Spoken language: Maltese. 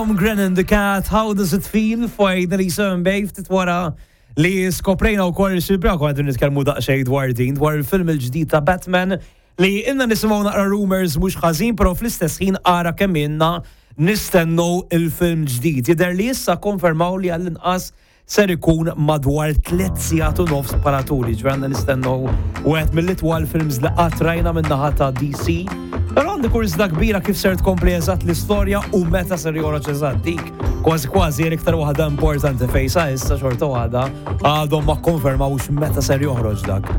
Tom Grennan, The Cat, How Does It Feel, Finally 7 Bay, ftit wara li skoprejna u koll xilbra konna qegħdin nitkellmu daqsxejn dwar din, dwar il-film il-ġdid ta' Batman li ilna nisimgħu naqra rumors mhux ħażin, però fl-istess ħin ara kemm ilna nistennu il-film ġdid. Jidher li issa konfermaw li għall-inqas ser ikun madwar 3 sigħat u nofs bħala tul, ġifieri għandna nistennu wieħed mill-itwal films li qatt rajna min-naħa ta' DC. Però għandi kurżità kbira kif ser tkompli eżatt l-istorja u meta ser joħroġ eżatt dik. Kważi kważi l-iktar waħda importanti fejn sa issa xorta waħda għadhom ma konfermawx meta ser joħroġ dak.